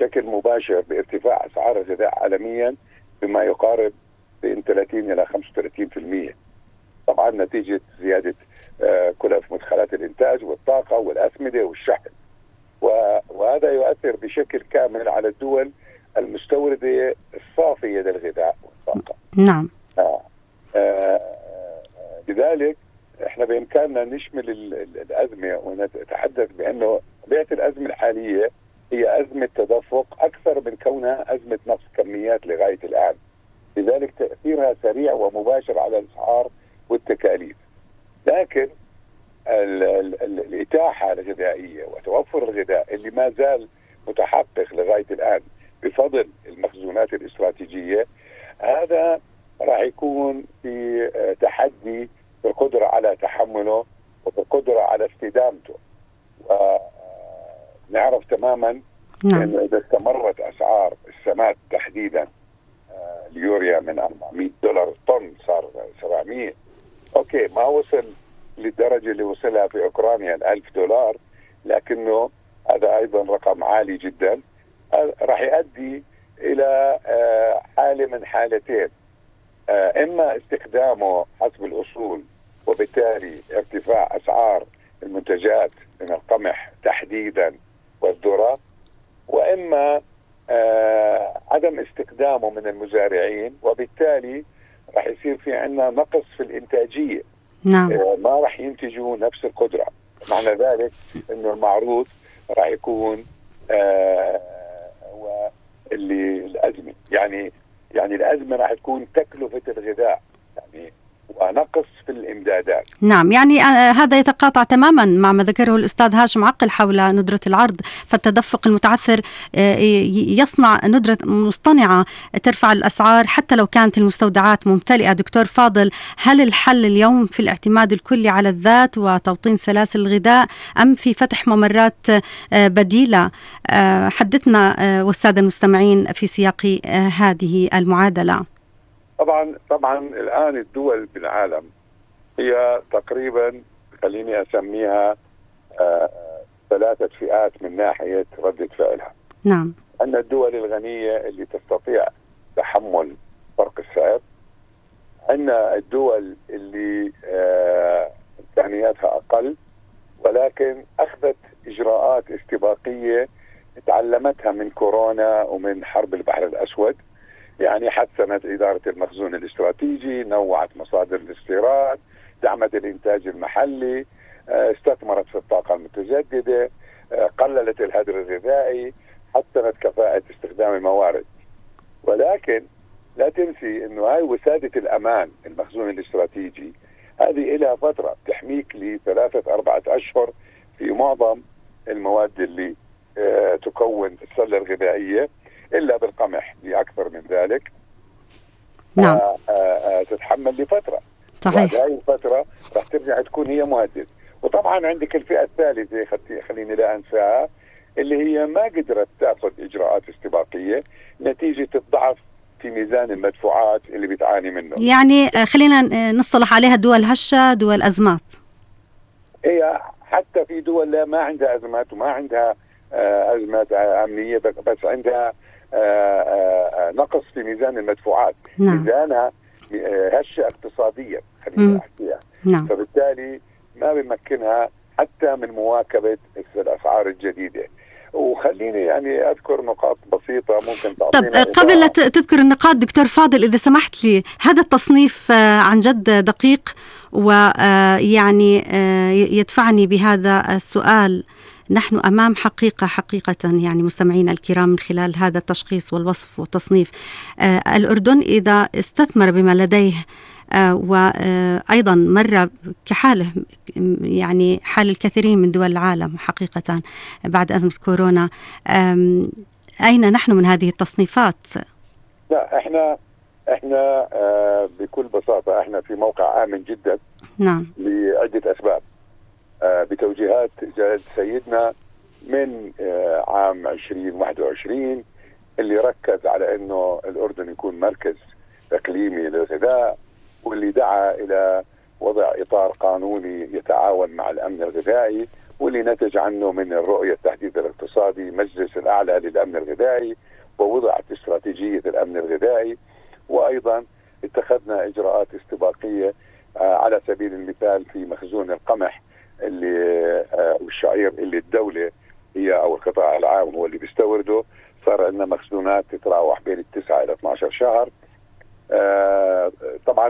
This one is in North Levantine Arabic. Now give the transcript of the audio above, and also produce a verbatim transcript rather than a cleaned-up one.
بشكل مباشر بارتفاع أسعار الغذاء عالميا بما يقارب بين ثلاثين إلى خمسة وثلاثين بالمئة، طبعا نتيجة زيادة كلف مدخلات الإنتاج والطاقة والأسمدة والشحن، وهذا يؤثر بشكل كامل على الدول المستوردة الصافية للغذاء والطاقة. نعم. آه. آه. لذلك احنا بإمكاننا نشمل الأزمة ونتحدث بأنه طبيعة الأزمة الحالية هي أزمة تدفق أكثر من كونها أزمة نقص كميات لغاية الآن، لذلك تأثيرها سريع ومباشر على الأسعار والتكاليف. لكن ال ال ال الإتاحة الغذائية وتوفر الغذاء اللي ما زال متحقق لغاية الآن بفضل المخزونات الاستراتيجية، هذا راح يكون في تحدي في القدرة على تحمله وفي القدرة على استدامته. ونعرف تماما نعم. أنه إذا استمرت أسعار السماد تحديدا اليوريا من أربعمئة دولار الطن صار سبعمئة، أوكي ما وصل للدرجة اللي وصلها في أوكرانيا الألف دولار، لكنه هذا أيضا رقم عالي جدا، راح يؤدي إلى حالة من حالتين، إما استخدامه حسب الأصول وبالتالي ارتفاع أسعار المنتجات من القمح تحديدا والذرة، وإما عدم استخدامه من المزارعين وبالتالي راح يصير في عندنا نقص في الإنتاجية. نعم. ما راح ينتجوا نفس القدرة، معنى ذلك إنه المعروض راح يكون آه واللي الأزمة يعني يعني الأزمة راح تكون تكلفة الغذاء يعني ونقص في الإمدادات. نعم، يعني هذا يتقاطع تماما مع ما ذكره الأستاذ هاشم عقل حول ندرة العرض، فالتدفق المتعثر يصنع ندرة مصطنعة ترفع الأسعار حتى لو كانت المستودعات ممتلئة. دكتور فاضل، هل الحل اليوم في الاعتماد الكلي على الذات وتوطين سلاسل الغذاء أم في فتح ممرات بديلة؟ حدثنا والسادة المستمعين في سياق هذه المعادلة. طبعا طبعا الآن الدول بالعالم هي تقريبا خليني أسميها آه ثلاثة فئات من ناحية ردة فعلها. نعم. أن الدول الغنية اللي تستطيع تحمل فرق السعر، أن الدول اللي آه إمكانياتها أقل ولكن أخذت إجراءات استباقية تعلمتها من كورونا ومن حرب البحر الأسود، يعني حسنت إدارة المخزون الاستراتيجي، نوعت مصادر الاستيراد، دعمت الإنتاج المحلي، استثمرت في الطاقة المتجددة، قللت الهدر الغذائي، حسنت كفاءة استخدام الموارد. ولكن لا تنسي أنه هاي وسادة الأمان المخزون الاستراتيجي هذه إلها فترة تحميك لثلاثة أربعة أشهر في معظم المواد اللي تكون السلة الغذائية، إلا بالقمح لأكثر من ذلك. نعم. آآ آآ تتحمل لفترة. صحيح. وهذه الفترة راح ترجع تكون هي مهدد. وطبعا عندك الفئة الثالثة خليني لا أنساها، اللي هي ما قدرت تأخذ إجراءات استباقية نتيجة الضعف في ميزان المدفوعات اللي بتعاني منه. يعني خلينا نصطلح عليها دول هشة، دول أزمات. هي حتى في دول لا ما عندها أزمات وما عندها أزمات أمنية، بس عندها نقص في ميزان المدفوعات. نعم. ميزانها هشة اقتصاديا خلينا أحكيها. نعم. فبالتالي ما بيمكنها حتى من مواكبة الأسعار الجديدة. وخليني يعني أذكر نقاط بسيطة ممكن تعطينا. طب قبل لا تذكر النقاط دكتور فاضل، إذا سمحت لي، هذا التصنيف عن جد دقيق ويعني يدفعني بهذا السؤال. نحن أمام حقيقة حقيقة يعني مستمعينا الكرام من خلال هذا التشخيص والوصف والتصنيف. الأردن إذا استثمر بما لديه وأيضا مر كحاله يعني حال الكثيرين من دول العالم حقيقة بعد أزمة كورونا، أين نحن من هذه التصنيفات؟ لا احنا احنا بكل بساطة احنا في موقع آمن جدا. نعم. لعدة أسباب، بتوجيهات جلالة سيدنا من عام عشرين واحد وعشرين اللي ركز على انه الأردن يكون مركز اقليمي للغذاء، واللي دعا الى وضع اطار قانوني يتعاون مع الامن الغذائي واللي نتج عنه من الرؤية التحديث الاقتصادي مجلس الأعلى للأمن الغذائي، ووضعت استراتيجية الأمن الغذائي، وأيضا اتخذنا إجراءات استباقية على سبيل المثال في مخزون القمح اللي والشعير اللي الدولة هي أو القطاع العام هو اللي بيستورده، صار عندنا مخزونات تتراوح بين التسعة إلى اثني عشر شهر. طبعا